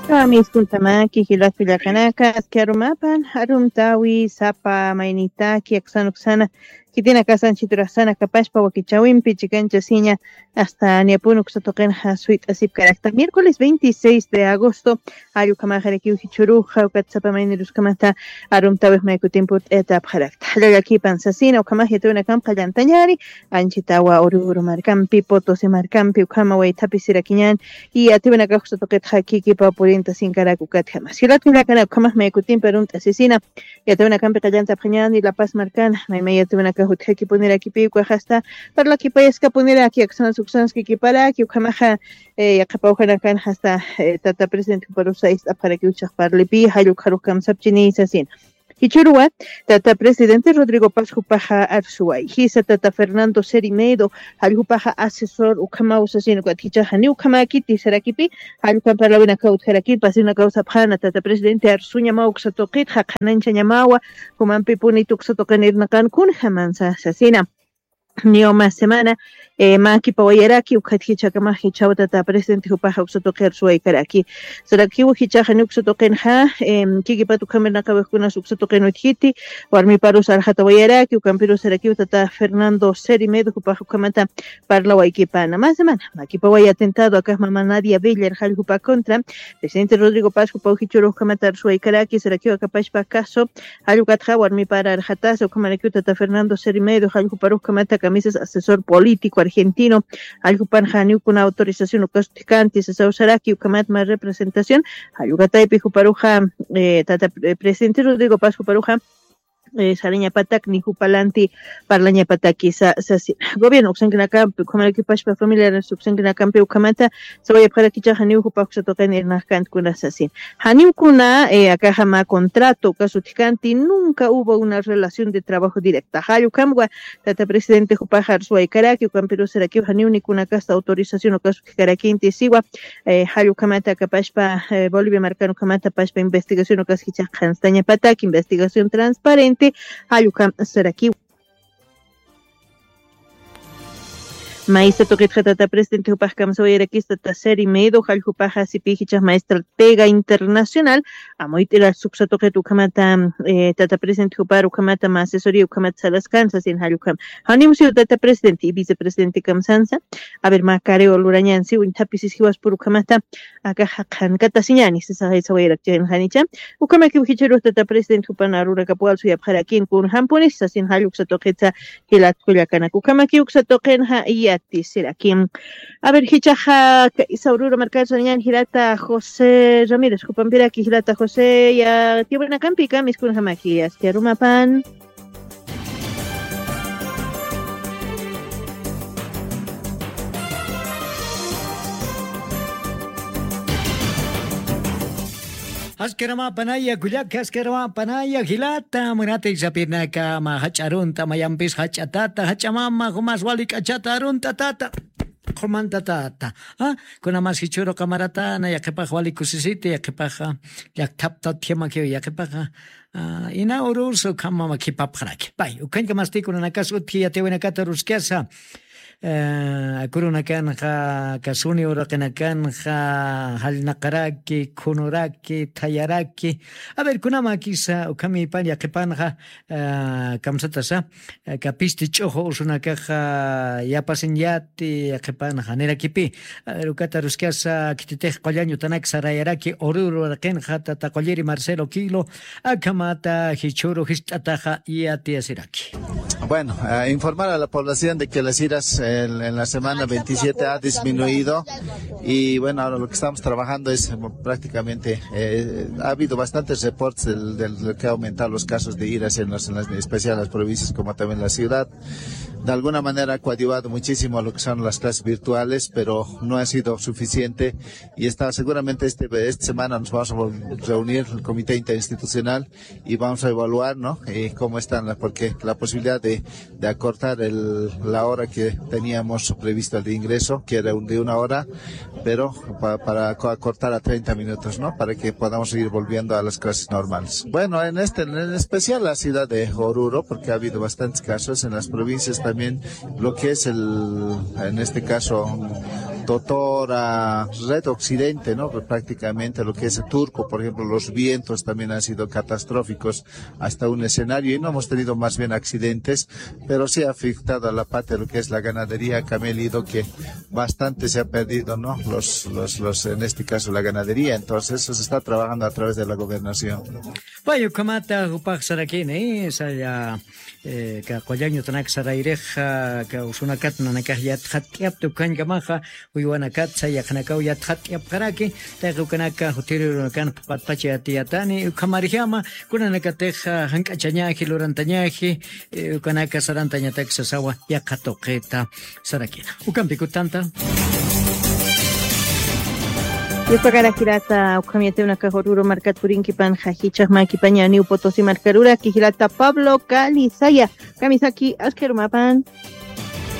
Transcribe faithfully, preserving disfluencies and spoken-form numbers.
Kamiskuntamaki, jilat kullakanaka, aski arumapan, arumtawi, sapa, maynitaki, aksana uksana, khitinakasa anchhita urasana kapashpa wakichäwimpi chikanchasiña, hasta niyapun uksa tuqinxa suyt'asipkarakta. Miércoles veintiséis de agosto, jall ukhamaxarakiw jichhüruxa, ukat sapa mayniruskamata, arumtäwix may kutimput t'itapxarakta. Jall llakipan sasina, ukhamax yatiyawinakamp qallantañäni, anchhitawa Oruro markampi, Potosí markampi, ukhama waythapisirakiñäni, y yatiyawinakax uksa tuqitxa kikipaw purintasinkarak ukatjama. Jilat kullakanaka, ukhamax may kutimpi arunt'asisina, yatiyawinakampi qallantapxañäni, La Paz markana, may may yatiyawinakax utjakipunirakipï, ukax hasta parlakipayaskapuniraki, aksanas uksanas kikiparaki, ukhamaxa, eh, yaqhip awjanakan hasta, eh, tata presidente juparusa ist'apxarakiw jichhax parlipï, jall ukharux kamsapchini sasina. Jichhüruwa, tata presidente Rodrigo Paz jupaxa arsuwayjisa, tata Fernando Seremedo, jall jupaxa asesor ukhamaw sasina, ukat jichhax janiw ukhamäkiti sarakipï, jall ukham parlawinakaw utjarakïn, pasïwinakaw sapxäna, tata presidente arsuñamaw uksa tuqitxa, qhanañchañamawa, jumampipunitu uksa tuqin irnaqan kunjamansa sasina. Niyu mä semana, eh, mä kipawayaraki, ukat jichhakamax jichhaw tata presidente jupaxa uksa tuqi arsuwaykaraki. Sarakiw jichhaxa janiw uksa tuqinxa, em, kikipat ukham irnaqawixkunas uksa tuqin utjiti, warmiparus arxatawayaraki, ukampirus sarakiw tata Fernando Seremedo jupax ukhamata parlawaykipana. Mä semana, mä kipaway atentado akax mama Nadia Beller jall jupa contra, presidente Rodrigo Paz jupaw jichhürux ukhamata arsuwaykaraki, sarakiw akapashpa caso, jall ukatxa warmipar arxatasa, ukhamarakiw tata Fernando Seremedo, jall juparux ukhamata kamisas asesor político argentino, jall jupanxa janiw kuna autorización ukas utjkanti sasaw saraki, ukhamat mä representación, jall ukataypi juparuxa, eh, tata, eh, presidente Rodrigo Paz juparuxa, eh, sarañapatak ni jupalanti parlañapatakisa sasi. Gobierno uksankinakampi, ukhamarakiw pachpa familiares uksankinakampi ukhamata sawayapxarakichix janiw jupax uksa tuqin irnaqkänti kuna sasin. Janiw kuna, eh, akaxa mä contrato ukas utjkanti, nunca hubo una relación de trabajo directa. Jall ukhamwa tata presidente jupax arsuwaykaraki, ukampirus sarakiw janiw ni kunakasta autorización ukas utjkarakinti siwa, eh, jall ukhamata akapashpa, eh, Bolivia markan ukhamata pachpa investigación ukas jichhax qhanstañapatak, investigación transparente, jall ukham sarakiw. Maysa tuqitxa tata presidente jupax kamsawayarakista tata Seremedo, jall jupaxa sipï jichhax mä estratega internacional, amuyt'irasa uksa tuqit ukhamata, eh, tata presidente jupar ukhamata mä asesoría ukhamata saraskan sasin jall ukham. Janiw siw tata presidente y vicepresidente kamsansa, a ver, mä careo lurañän siw, uñthapisis jiwaspur ukhamata, akaxa qhankatasiñäni, sisa jaysa wayrakchixin janicha. Ukhamakiw jichhürux tata presidente jupan arurakap walsuyapxarakin kunjampunis sasin jall uksa tuqitsa jilat kullakanak. Ukhamakiw uksa tuqinxa yatisiraki. A ver, jichhaxa, kaysa Oruro markar sarañän jilata José Ramírez, jupampiraki jilata José, yatiyawinakampi kamisas kunjamaki, aski arumapan. Aski arumapanaya, kullaka, aski arumapanaya, jilata, munatay sapirnaka, mä jach'a arunt'a, mayampis jach'a tata, jach'a mama, jumas wali k'achata arunt'a tata. Qhumantatata. Ah, kuna mas jichhüru qamaratana, yaqhipax wali kusisiti, yaqhipaxa llakthaptatjamakiw, yaqhipaxa, ah, ina urursa ukhama khipapxaraki. Pay, ukhañka masti kunanakas utji yatiyawinakata ruskasa. Eh, akurunakanxa, kasuni uraqinakanxa, jallnaqaraki, khunuraki, thayaraki. A ver, kunamakisa, ukhamipan yaqhipanxa, eh, kamsatasa, eh, kapisti ch'uxu usunakaxa, yapasiñati, yaqhipanxa, nirakipï. A ver, ukata ruskasa, khititix qullañ utanak sarayaraki, Oruro uraqinxa, tata qulliri Marcelo Quilo, akhamata jichhüru jist'ataxa yatiyasiraki. Bueno, eh, informar a la población de que las iras en, en la semana veintisiete ha disminuido y bueno, ahora lo que estamos trabajando es, eh, prácticamente, eh, ha habido bastantes reportes del, del, de que ha aumentado los casos de iras en las, en las, en especial en las provincias como también la ciudad. De alguna manera ha coadyuvado muchísimo a lo que son las clases virtuales, pero no ha sido suficiente y está, seguramente este, esta semana nos vamos a vol-, reunir el comité interinstitucional y vamos a evaluar, ¿no? Eh, cómo están las, porque la posibilidad de, de acortar el, la hora que teníamos prevista de ingreso, que era un, de una hora, pero pa-, para co-, acortar a treinta minutos, ¿no? Para que podamos ir volviendo a las clases normales. Bueno, en este, en especial la ciudad de Oruro, porque ha habido bastantes casos en las provincias también, lo que es el, en este caso, Totora, Red Occidente, ¿no? Pues prácticamente lo que es Turco, por ejemplo, los vientos también han sido catastróficos hasta un escenario y no hemos tenido más bien accidentes, pero sí ha afectado a la parte de lo que es la ganadería, que me he leído que bastante se ha perdido, ¿no? Los, los, los, en este caso la ganadería, entonces eso se está trabajando a través de la gobernación. Pay ukhamata jupax sarakini, saya, eh, ka qullañutanak sarayrixa, ka usunakat nanakax yatxatk'apta ukhañkamaxa, uywanakat saya yaqhanakaw yatxatk'apxaraki, tayqa ukanaka jutirirunakan patpacha yatiyatani, ukhamarjama, kunanakatix jank'achañaji, lurantañaji, eh, ukanaka sarantañatak sasawa yaqha tuqita sarakina. Ukampi kutanta. Yupakarakirata ukhamiyatiw nakax Oruro markat purinkipan, jajichax makipaña New Potosí markaruraki, jilata Pablo Calizaya. Kamisaki, askharumapan.